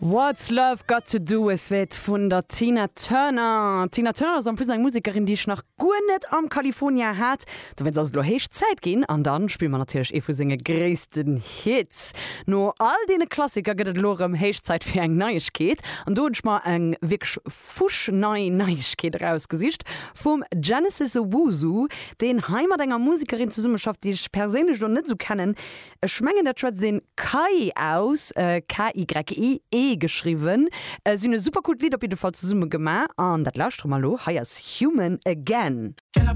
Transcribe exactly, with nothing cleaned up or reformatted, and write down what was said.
What's Love Got to Do With It vun der Tina Turner. Tina Turner ass en plus eng Musekerin, déi ech nach guer net am California hat. Dowéinst ass et lo héich Zäit ginn an dann spille mer natierlech ee vu senge gréissten Hits. No all deene Klassiker gëtt et lo rëm héich Zäit fir eng Neiegkeet an do hunn ech mer eng wierklech fuschnei Neiegkeet erausgesicht vum Genesis Owusu, deen hei mat enger Musekerin zesummeschafft, déi ech perséinlech lo net sou kennen. Ech mengen dat schwätzt een Kai aus, K Y E geschriwwen. Si hunn e super coolt Lidd op jidde Fall zesumme gemaach an dat lauschtere mer lo. Hei ass Human Again.